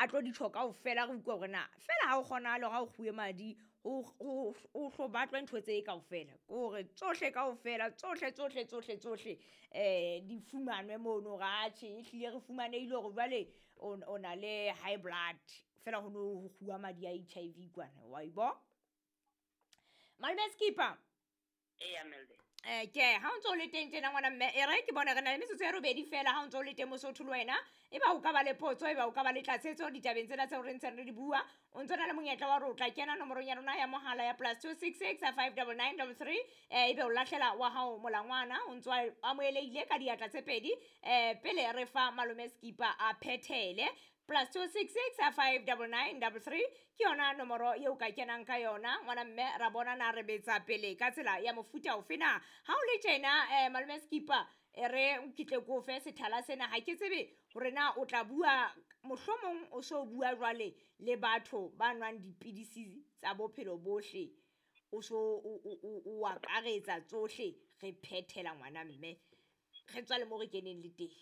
A tlo di tjho kaofela re utlwe hore na fela ha o kgonahale hore ha o kguwe madi o hlo batlwe ntho tse kaofela, ke hore tsohle kaofela tsohle tsohle tsohle tsohle di fumanwe mono hore atjhe ehlile re fumanehile hore jwale o na le high blood fela ho no ho kguwa madi a HIV kwana wa e bo. Malome Skipper. Eya, Melde. Ke ha o ntso o le teng tjena ngwana mme, e re ke bone re na le metsotso ya robedi fela ha o ntso o le teng Mosotho le wena, e ba o ka ba le potso, e ba o ka ba le tlatsetso ditabeng tsena tseo re ntseng re di bua, o ntso na le monyetla wa hore o tla kena nomorong ya rona ya mohala ya +266 599 33, ebe o lahlela wa hao molangwana o ntso amohelehile ka diatla tse pedi, pele re fa malome Skipper a phethele. +266 599 33 ke yona nomoro eo ka kenang ka yona ngwana mme, ra bona na re betsa pele ka tsela ya mofuta ofe na. Ha o le tjena malome Skipper, e re ke tle ke o fe sethala sena, ha ke tsebe hore na o tla bua mohlomong o so bua jwale le batho ba nwang dipidisi tsa bophelo bohle, o so o akaretsa tsohle, re phethela ngwana mme, re tswa le mo re keneng le teng.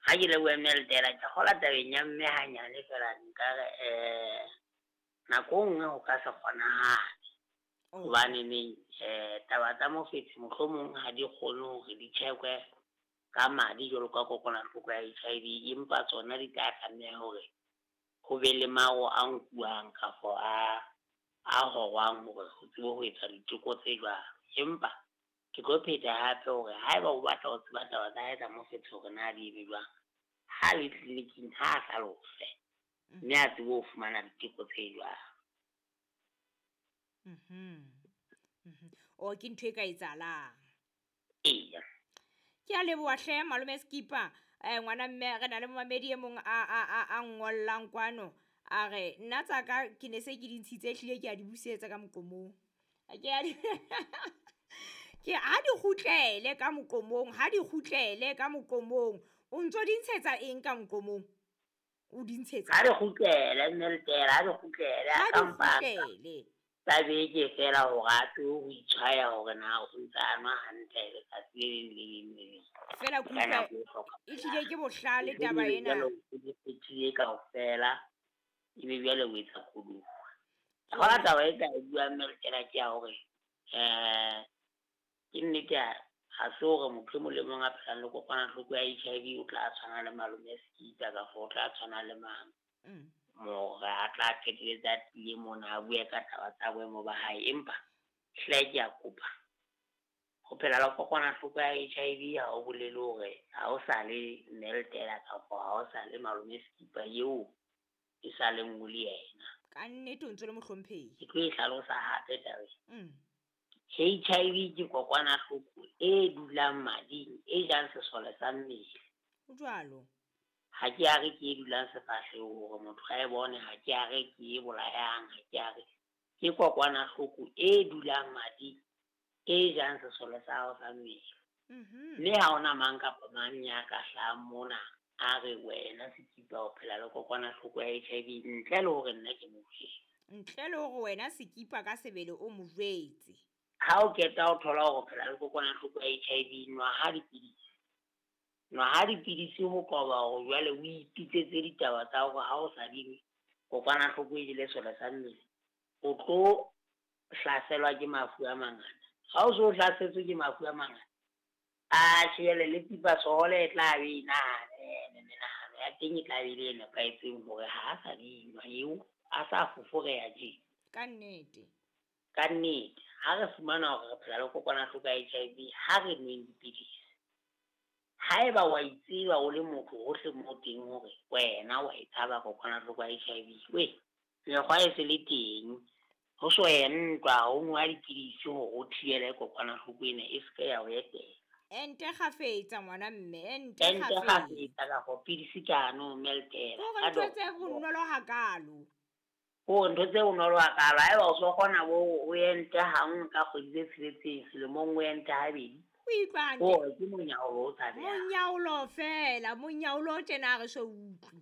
Ha ke lebohe Meldela, ke kgola tabeng ya mme hanyane fela nkare nako e nngwe ho ka se kgonahale. Hobane neng taba tsa mofetshe mohlomong ha di kgone hore di check-we ka madi jwalo ka kokwanahloko ya HIV, empa tsona di tla tlameha hore ho be le maro a nkuwang kafo a horwang hore ho tsebe ho etsa diteko tse jwalo. Empa ke tlo pheta hape hore haeba o batla ho tseba taba tsa hae tsa mofetshe hore na di eme jwang, ha le tleliniking ha a hlalose mme a tsebe ho fumana diteko tse jwalo. O ke ntho e ka etsahalang. Eya. Ke a leboha hle malome Skipper. Ngwana mme re na le momamedi e mong a ngollang kwano, a re nna tsa ka ke ne se ke di ntshitse ehlile ke a di busetsa ka moqomong. Ke a di ke ha di kgutlele ka moqomong, ha di kgutlele ka moqomong. O ntso di ntshetsa eng ka moqomong? O di ntshetsa? Ha di kgutlele Meldela, ha di kgutlele, Ha a di ka mpa kgutlele. tsa beke fela hore a tsebe ho itshwaya hore na o ntse a nwa hantle letsatsi le leng le leng le leng. Fela Ka ke utlwa nako e hlokahalang. ehlile ke bohlale Ebe taba jwale ena. o di phethile kaofela, ebe jwale o etsa koduwa. Hona taba e ka e buang Meldela ke ya hore ke nnete ha se hore motho e mong le mong a phelang le kokwanahloko ya HIV o tla tshwana le malome Skipper kapa o tla tshwana le mang. More a tla qetelletse a tlile mona a bue ka taba tsa boemo ba hae, empa hle ke a kopa ho phela le kokwanahloko ya HIV ha o bolele hore ha o sa le Meldela kapa ha o sa le malome Skipper eo e sa leng o le yena. Ka nnete o ntso le mohlomphehi. Ke tlo e hlalosa hape taba e. HIV ke kokwanahloko e dulang mading, e jang sesole sa mmele. Ho jwalo. Ha ke a re ke e dulang sefahlehong hore motho a e bone, ha ke a re ke e bolayang, ha ke a re ke kokwanahloko e dulang mading, e jang sesole sa hao sa mmele. Mme ha hona mang kapa mang ya ka hlahang mona a re wena Skipper o phela le kokwanahloko ya HIV ntle le hore nna ke mo jwetse. Ntle le hore wena Skipper ka sebele o mo jwetse. Ha o qeta ho thola hore o phela le kokwanahloko ya HIV, nwa ha dipidisi. Nwa ha dipidisi ho qoba hore jwale o ipitsetse ditaba tsa hore ha o sa di nwe, kokwanahloko e jele sesole sa mmele, o tlo hlaselwa ke mafu a mangata. Ha o so hlasetswe ke mafu a mangata, atjhe jwale le pipasohole e tla be e nahane, menahano ya teng e tla be e le e nepahetseng hore ha a sa di nwa eo, a sa foforeha tje. Ka nnete. Ka nnete, ha re fumana hore re phela le kokwanahloko ya HIV, ha re nweng dipidisi. Haeba wa itseba o le motho hohle mo teng hore wena wa e tshaba kokwanahloko ya HIV, we mekgwa e se le teng, ho so entwa, ho nwa dipidisi hore o thibele kokwanahloko ena e se ke ya o etela. Ente kgafetsa ngwana mme, ente Ente kgafetsa. kgafetsa ka go pidisi ka no Meldela. Hore Ka ntho do- tse bonolo hakalo. Hore ntho tse bonolo hakalo, haeba o so kgona bo o ente hangwe ka kgwedi tse tsheletseng, selemong o ente habedi. O utlwa hantle. Hore ke monyaolo o tshabehang. Monyaolo fela, monyaolo o tjena ha re so utlwe.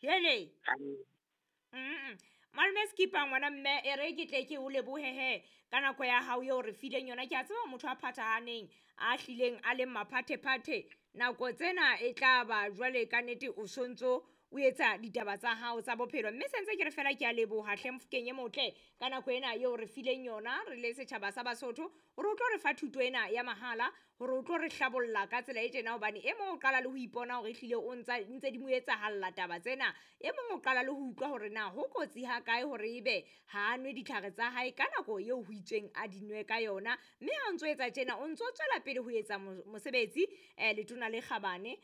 Hele. Malome Skipper ngwana mme, e re ke tle ke o lebohe he ka nako ya hao eo re fileng yona. Ke a tseba motho a phathahaneng, a hlileng a leng maphathephathe. Nako tsena e tla ba jwale ka nnete o sontso o etsa ditaba tsa hao tsa bophelo. Mme sentse ke re fela ke a leboha hle Mofokeng e motle ka nako ena eo re fileng yona re le setjhaba sa Basotho, hore o tlo re fa thuto ena ya mahala, hore o tlo re hlabolla ka tsela e tjena, hobane e mong o qala le ho ipona hore ehlile o ntse di mo etsahalla taba tsena. E mong o qala le ho utlwa hore na ho kotsi ha kae hore ebe ha a nwe ditlhare tsa hae ka nako eo ho itsweng a di nwe ka yona. Mme ha o ntso etsa tjena, o ntso tswela pele ho etsa mosebetsi letona le kgabane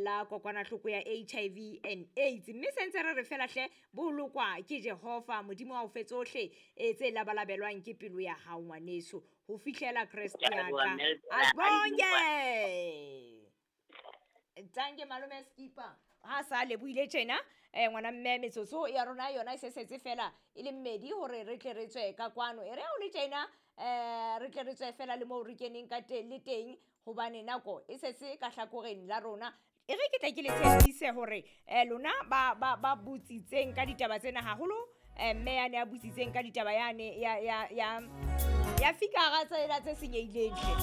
la kokwanahloko ya HIV and AIDS. Mme se ntse re re fela hle, bolokwa ke Jehova Modimo wa o fe tsohle tse labalabelwang ke pelo ya hao ngwaneso, ho fihlela Kreste Ke a ya leboha, ka. mme Letela. Abonge. Tanke malome Skipper. Ha sa lebohile tjena, ngwana mme, metsotso ya rona yona e se setse fela e le mmedi hore re tle re tswe ka kwano. E re ha o le tjena, re tle re tswe fela le moo re keneng ka teng le teng, hobane nako e setse ka hlakoreng la rona. E re ke tle ke le tshepise hore lona ba botsitseng ka ditaba tsena haholo, mme yane ya botsitseng ka ditaba yane ya fikara tsela tse senyehileng hle.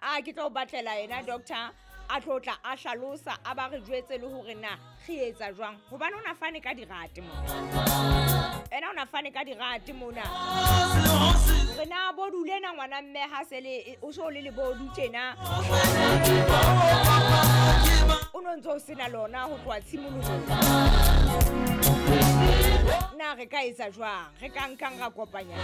A ke tlo batlela yena doctor a tlo tla a hlalosa, a ba re jwetse le hore na re etsa jwang, hobane o na fane ka dirate mona. Ena o na fane ka dirate mona. Re na bodu lena ngwana mme ha se le, o so le lebodu tjena. O no ntso o sena lona ho tloha tshimolohong. Na re ka etsa jwang? Re ka nkang ra kopanya?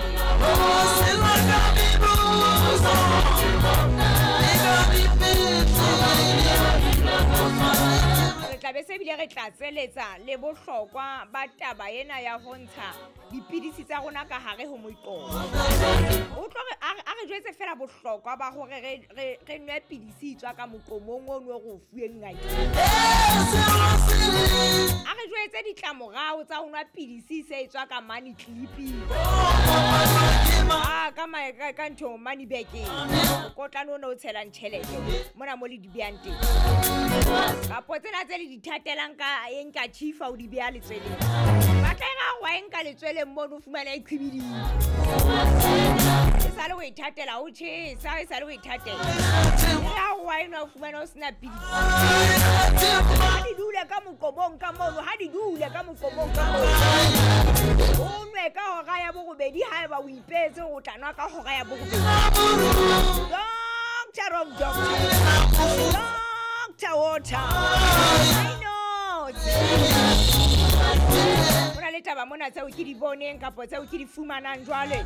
Re tla be se bile re tlatseletsa le bohlokwa ba taba ena ya ho ntsha dipidisi tsa rona ka hare ho moqomo. O tlo re, a re jwetse fela bohlokwa ba hore re nwe pidisi e tswa ka moqomong ono re o fuweng ngakeng. A re jwetse ditlamorao tsa ho nwa pidisi se e tswa ka money clipping. Ah, ka ma-, ka, ka ntho money bag-eng. Mokotlana ona o tshelang tjhelete mona mo le di behang teng. Kapo tsena tse le di thatelang ka e nka chifa o di beha letsweleng. Ba tla e ra wa e nka letsweleng mono o fumana e qhibidile. E sale o e thatela, o tjhesa, e sale o e thatela. E ra wa e nwa o fumana o sena pidisi. Ha di dule ka moqomong ka mono, ha di dule ka moqomong ka mono. O nwe ka hora ya borobedi haeba o ipehetse hore o tla nwa ka hora ya borobedi. Doctor of doctor. Doctor water. I know. Ho na le taba mona tseo ke di boneng kapa tseo ke di fumanang jwale.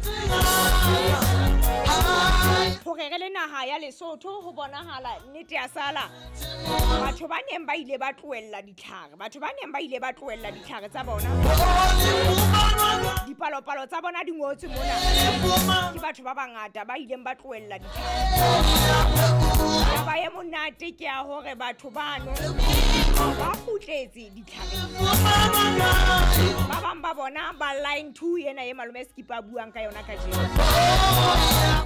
Hore re le naha ya Lesotho ho bonahala nnete ya sala. Batho ba neng ba ile ba tlohella ditlhare, batho ba neng ba ile ba tlohella ditlhare tsa bona. Dipalopalo tsa bona di ngotswe mona. Ke batho ba bangata ba ileng ba tlohella ditlhare. Taba e monate ke ya hore batho bano ba kgutletse ditlhareng. Ba bang ba bona ba line 2 ena e malome Skipper a buang ka yona kajeno.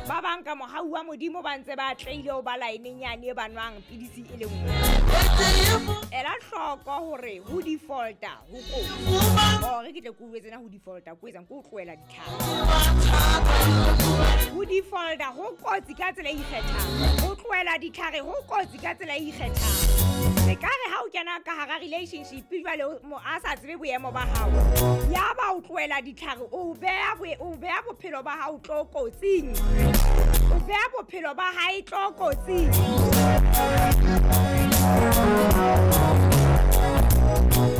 Ba bang ka mohau wa Modimo ba ntse ba atlehile ho ba line-eng yane e ba nwang pidisi e le nngwe. Ela hloko hore ho defaulta ho kotsi. Hore ke tle ke o jwetse na ho defaulta ko etsang, ke ho tlohela ditlhare. Ho defaulta ho kotsi ka tsela e ikgethang. Ho tlohela ditlhare ho kotsi ka tsela e ikgethang. Se ka re ha o kena ka hara relationship jwale o mo a sa tsebe boemo ba hao, ya ba o tlohela ditlhare, o beha bophelo ba hao tlokotsing. O beha bophelo ba hae tlokotsing.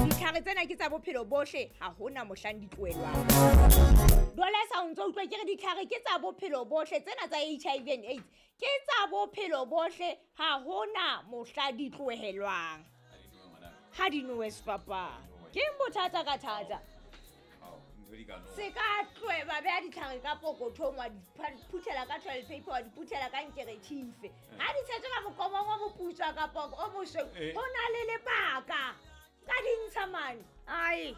Ditlhare tsena ke tsa bophelo bohle, ha hona mohlang di tlohellwang. Jwale sa o ntso utlwa ke re ditlhare ke tsa bophelo bohle, tsena tsa HIV and AIDS ke tsa bophelo bohle, ha hona mohla di tlohelwang. Ha di nowe sefapano. Ke eng bothata ka thata? Se ka tlohela beha ditlhare ka pokothong, wa di phuthela ka toilet paper, wa di phuthela ka nkerethife. Ha di tshetswe ka moqomong o moputswa kapa o mosweu, ho na le lebaka. Ka di ntsha mane. Ai.